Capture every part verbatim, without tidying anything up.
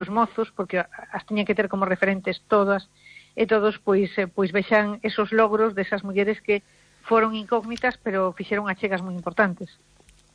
os mozos, porque as tiña que ter como referentes todas, e todos pois, eh, pois vexan esos logros desas mulleres que foron incógnitas, pero fixeron achegas moi importantes.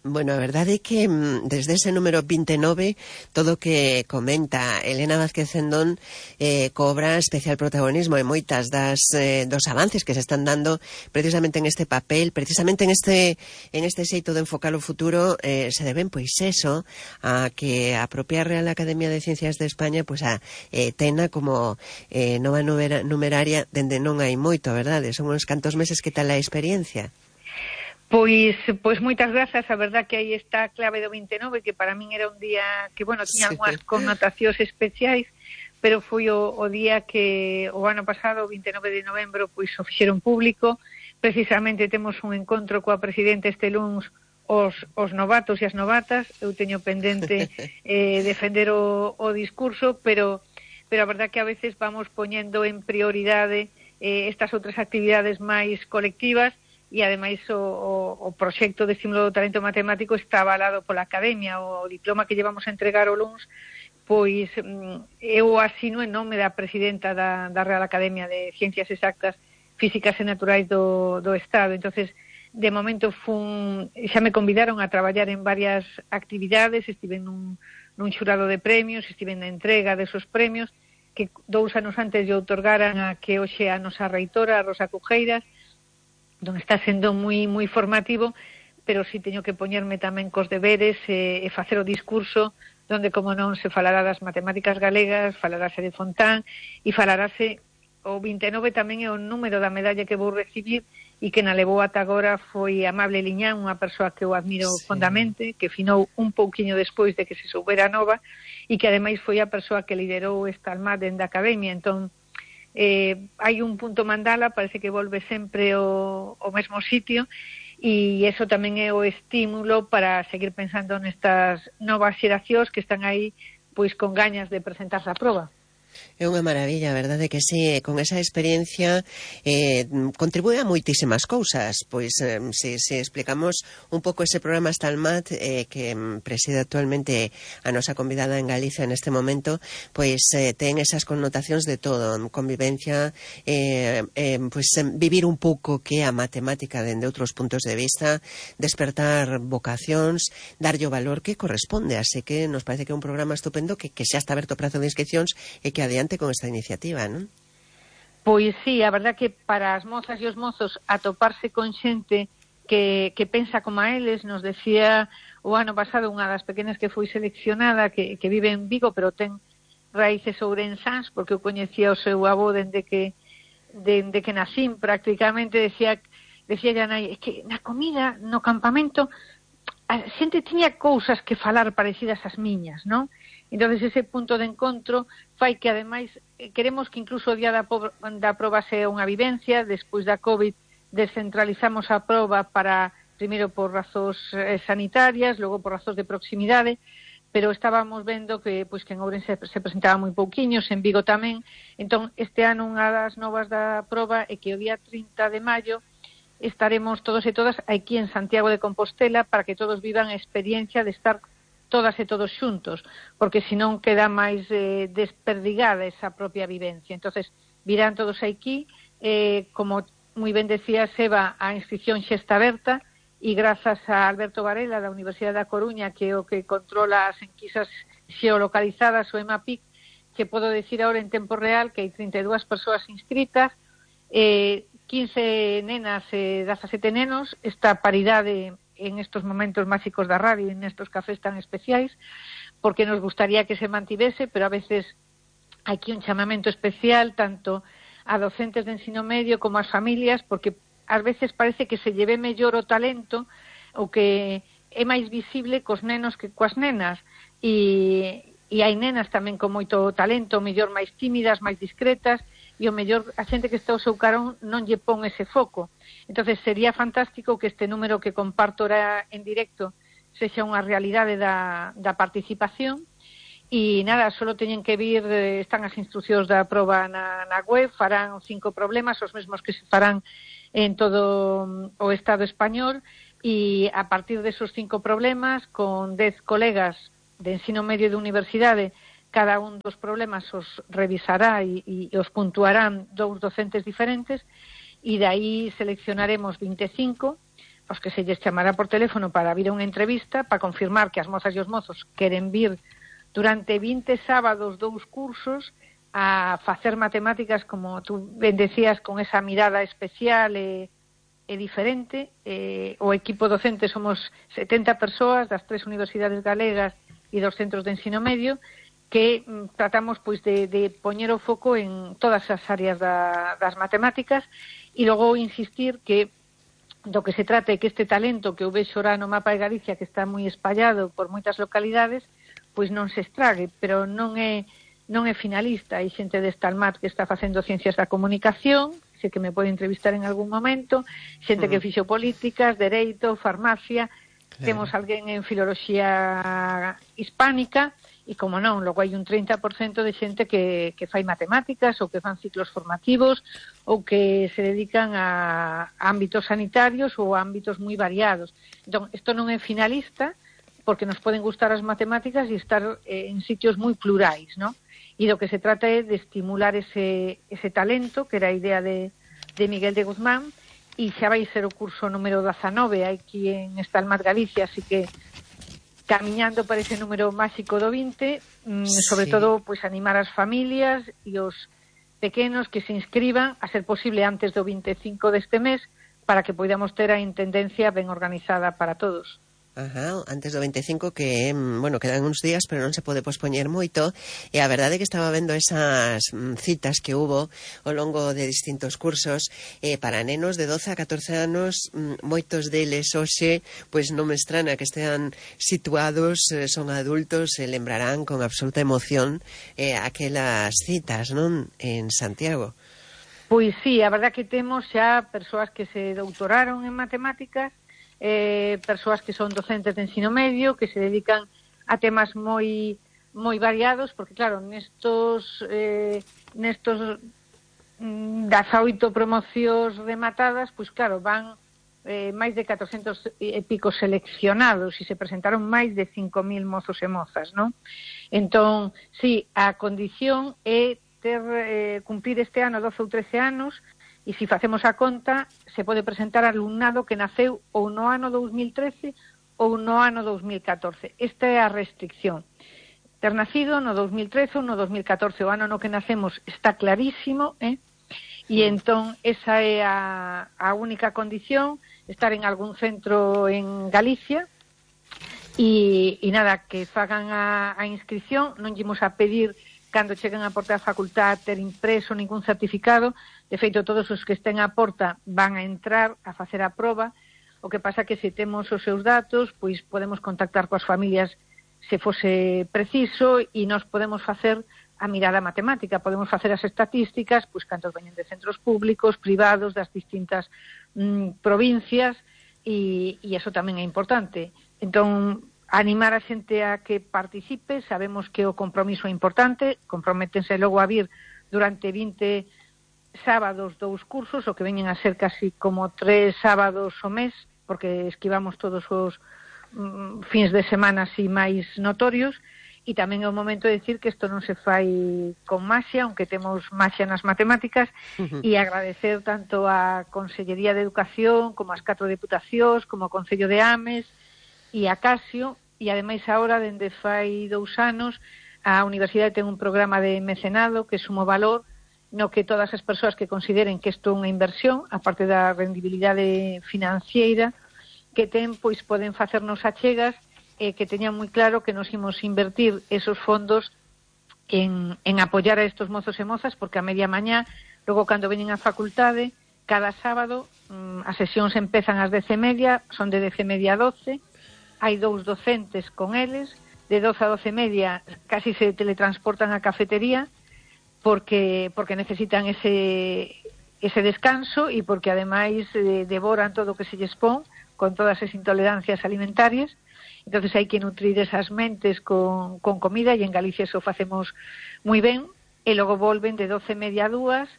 Bueno, a verdade é que desde ese número vinte e nove todo o que comenta Elena Vázquez Cendón eh, cobra especial protagonismo e moitas das eh, dos avances que se están dando precisamente en este papel, precisamente en este en este xeito de enfocar o futuro eh, se deben pois eso a que a propia Real Academia de Ciencias de España pois a eh, tena como eh, nova numera, numeraria dende non hai moito, a verdade? Son uns cantos meses, que tal a experiencia? Pois, pois moitas grazas, a verdad que aí está a clave do vinte e nove, que para min era un día que, bueno, tiña sí. algunhas connotacións especiais, pero foi o, o día que o ano pasado, o vinte e nove de novembro, pois o fixeron público. Precisamente temos un encontro coa presidente este luns os, os novatos e as novatas. Eu teño pendente eh, defender o, o discurso, pero, pero a verdad que a veces vamos poñendo en prioridade eh, estas outras actividades máis colectivas. E, ademais, o, o, o proxecto de estímulo do talento matemático está avalado pola Academia. O diploma que llevamos a entregar o luns, pois eu asino en nome da presidenta da, da Real Academia de Ciencias Exactas, Físicas e Naturais do, do Estado. Entonces, de momento, fun, xa me convidaron a traballar en varias actividades. Estive nun, nun xurado de premios, estive na entrega desos premios, que dous anos antes lle outorgaran a que hoxe a nosa reitora, a Rosa Cujeiras, donde está sendo moi moi formativo, pero si teño que poñerme tamén cos deberes e, e facer o discurso, donde, como non, se falará das matemáticas galegas, falarase de Fontán, e falarase o vinte e nove tamén é o número da medalla que vou recibir, e que na levou ata agora foi Amable Liñán, unha persoa que eu admiro sí. fondamente, que finou un pouquiño despois de que se soubera nova, e que ademais foi a persoa que liderou esta almade da Academia. Entón, Eh, hai un punto mandala, parece que volve sempre o, o mesmo sitio, e eso tamén é o estímulo para seguir pensando nestas novas xeracións que están aí pois con gañas de presentarse á proba. É unha maravilla, a verdade que sí, con esa experiencia eh, contribúe a moitísimas cousas, pois eh, se, se explicamos un pouco ese programa Stalmat eh, que preside actualmente a nosa convidada en Galicia neste momento, pois eh, ten esas connotacións de todo, convivencia, eh, eh, pois vivir un pouco que a matemática dende outros puntos de vista, despertar vocacións, darlle o valor que corresponde, así que nos parece que é un programa estupendo que, que xa está aberto o prazo de inscripcións e que adiante con esta iniciativa, non? Pois sí, a verdad que para as mozas e os mozos atoparse con xente que, que pensa como a eles, nos decía o ano pasado unha das pequenas que foi seleccionada, que, que vive en Vigo, pero ten raíces ourensás, porque eu coñecía o seu avó dende que dende que nacín prácticamente, decía decía ya nai, é que na comida, no campamento, a xente tiña cousas que falar parecidas ás miñas, non? Entonces ese punto de encontro fai que, ademais, queremos que incluso o día da, da proba sea unha vivencia. Despois da COVID descentralizamos a proba para, primeiro por razóns eh, sanitarias, logo por razóns de proximidade, pero estábamos vendo que, pois, que en Ourense se presentaba moi pouquiños, en Vigo tamén. Entón, este ano unha das novas da proba é que o día trinta de maio estaremos todos e todas aquí en Santiago de Compostela para que todos vivan a experiencia de estar todas e todos xuntos, porque senón queda máis eh, desperdigada esa propia vivencia. Entonces, virán todos aquí, eh, como moi ben decía Seba, a inscripción xa está aberta, e grazas a Alberto Varela da Universidade da Coruña, que é o que controla as enquisas xeolocalizadas, o EMAPIC, que podo decir ahora en tempo real que hai trinta e dúas persoas inscritas, eh, quince nenas e dezasete nenos, esta paridade en estos momentos máxicos da radio, en estos cafés tan especiais, porque nos gustaría que se mantivese, pero a veces hai aquí un chamamento especial tanto a docentes de ensino medio como ás familias, porque ás veces parece que se lleve mellor o talento, o que é máis visible cos nenos que coas nenas, e, e hai nenas tamén con moito talento, o mellor máis tímidas, máis discretas, e o mellor a xente que está ao seu carón non lle pon ese foco. Entonces sería fantástico que este número que comparto ahora en directo sexa unha realidade da, da participación. E nada, solo teñen que vir, están as instruccións da proba na, na web, farán cinco problemas, os mesmos que se farán en todo o Estado español, e a partir desos cinco problemas, con dez colegas de ensino medio e de universidade, cada un dos problemas os revisará e, e os puntuarán dous docentes diferentes, e de aí seleccionaremos vinte e cinco, os que se lles chamará por teléfono para vir a unha entrevista, para confirmar que as mozas e os mozos queren vir durante vinte sábados dous cursos a facer matemáticas, como tú ben decías, con esa mirada especial e, e diferente. Eh, o equipo docente somos setenta persoas das tres universidades galegas e dos centros de ensino medio, que mm, tratamos pois de, de poñer o foco en todas as áreas da, das matemáticas, e logo insistir que do que se trata é que este talento que eu vexo ora no mapa de Galicia, que está moi espallado por moitas localidades, pois non se estrague, pero non é non é finalista. Hai xente de Estalmat que está facendo ciencias da comunicación, sei que me pode entrevistar en algún momento, xente que fixo políticas, dereito, farmacia, claro. Temos alguén en filoloxía hispánica, e como non, logo hai un trinta por cento de xente que, que fai matemáticas ou que fan ciclos formativos ou que se dedican a, a ámbitos sanitarios ou a ámbitos moi variados. Entón, isto non é finalista, porque nos poden gustar as matemáticas e estar eh, en sitios moi plurais, non? E do que se trata é de estimular ese, ese talento, que era a idea de, de Miguel de Guzmán, e xa vai ser o curso número dezanove aquí en Estalmat, Galicia, así que camiñando para ese número máxico do vinte, mm, sí. Sobre todo, pois animar as familias e os pequenos que se inscriban, a ser posible antes do vinte e cinco deste mes, para que podamos ter a intendencia ben organizada para todos. Ajá, antes do vinte e cinco, que, bueno, quedan uns días, pero non se pode pospoñer moito, e a verdade é que estaba vendo esas mm, citas que hubo ao longo de distintos cursos eh, para nenos de doce a catorce anos, mm, moitos deles hoxe, pois non me estrana que estean situados, eh, son adultos, e lembrarán con absoluta emoción eh, aquelas citas, non, en Santiago. Pois sí, a verdade que temos xa persoas que se doutoraron en matemáticas, Eh, persoas que son docentes de ensino medio, que se dedican a temas moi moi variados, porque claro, nestos eh, nestos mm, das oito promocións rematadas, pois claro, van eh, máis de catrocentos e pico seleccionados, e se presentaron máis de cinco mil mozos e mozas, non? Entón, sí, a condición é ter eh, cumplir este ano doce ou trece anos, e se facemos a conta, se pode presentar alumnado que naceu ou no ano dous mil trece ou no ano dous mil catorce. Esta é a restricción. Ter nacido no dous mil trece ou no dous mil catorce, o ano no que nacemos, está clarísimo, eh? E entón, esa é a, a única condición, estar en algún centro en Galicia, e, e nada, que fagan a, a inscripción, non llemos a pedir cando cheguen a porta da facultad ter impreso ningún certificado. De feito, todos os que estén a porta van a entrar a facer a proba. O que pasa que se temos os seus datos, pois podemos contactar coas familias se fose preciso, e nós podemos facer a mirada matemática, podemos facer as estatísticas, pois cantos veñen de centros públicos, privados, das distintas mm, provincias, e, e eso tamén é importante. Entón, animar a xente a que participe, sabemos que o compromiso é importante, comprométense logo a vir durante vinte sábados dous cursos, o que veñen a ser casi como tres sábados ao mes, porque esquivamos todos os mm, fins de semana así máis notorios, e tamén é o momento de decir que isto non se fai con maxia, aunque temos maxia nas matemáticas, uh-huh. E agradecer tanto a Consellería de Educación, como as catro deputacións, como o Concello de Ames e a Casio. E ademais agora, dende fai dous anos, a Universidade ten un programa de mecenado que sumo valor, no que todas as persoas que consideren que isto é unha inversión, aparte da rendibilidade financiera que ten, pois poden facernos achegas, e eh, que teñan moi claro que nos imos invertir esos fondos en, en apoiar a estos mozos e mozas, porque a media mañá, logo cando veñen á facultade, cada sábado mmm, as sesións empezan ás dez e media, son de dez e media a doce, hai dous docentes con eles, de doce a doce e media casi se teletransportan á cafetería, porque porque necesitan ese ese descanso, e porque ademais eh, devoran todo o que se lles pon, con todas as intolerancias alimentarias. Entonces hai que nutrir esas mentes con, con comida, e en Galicia eso facemos moi ben, e logo volven de doce e media a dúas,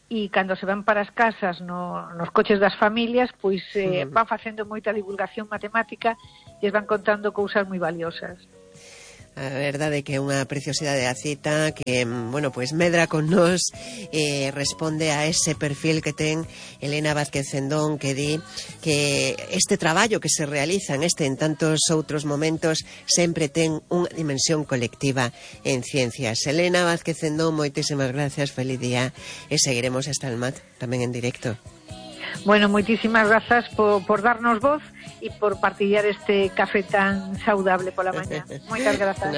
e cando se van para as casas no, nos coches das familias, pois eh, van facendo moita divulgación matemática e van contando cousas moi valiosas. A verdade que é unha preciosidade a cita que, bueno, pois medra con nós e eh, responde a ese perfil que ten Elena Vázquez Cendón, que di que este traballo que se realiza en este en tantos outros momentos sempre ten unha dimensión colectiva en ciencias. Elena Vázquez Cendón, moitísimas gracias, feliz día e seguiremos hasta el mat tamén en directo. Bueno, moitísimas grazas por, por darnos voz e por partillar este café tan saudable pola mañá. Moitas grazas.